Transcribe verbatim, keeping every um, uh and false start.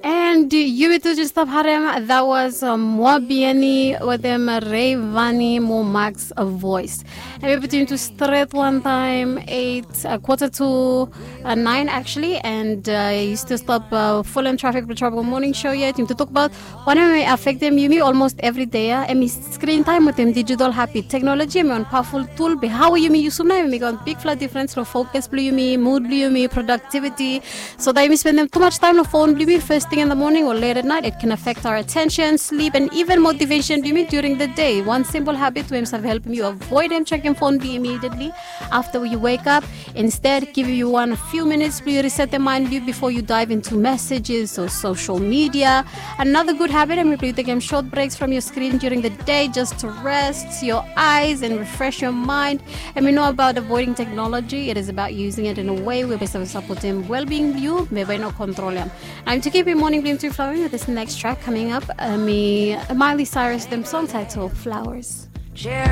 And yumi tu just stop harem, that was uh, Moa Bieni wetem Rayvanny mo Max voice. And we between to stret one time, eight, uh, quarter to uh, nine actually, and uh, you still stop uh, full and traffic for trouble morning show yet. You to talk about one of my affecting yumi almost every day. Uh, and screen time with him digital happy technology, and powerful tool be how yumi use na, and make a big flat difference for focus blue yumi, mood blue yumi, productivity, so that yumi spend them too much time on phone blue first thing in the morning or late at night. It can affect our attention, sleep, and even motivation blue during the day. One simple habit will help you avoid them checking phone blue immediately after you wake up. Instead, give you one few minutes blue reset the mind blue before you dive into messages or social media. Another good habit, and we take them short breaks from your screen during the day just to rest your eyes and refresh your mind. And we know about avoiding technology. It is about using it in a way where we support them well-being blue, maybe no control them. I'm to keep your morning blue to flowing with this next track coming up. Uh, me, Miley Cyrus, them song title Flowers.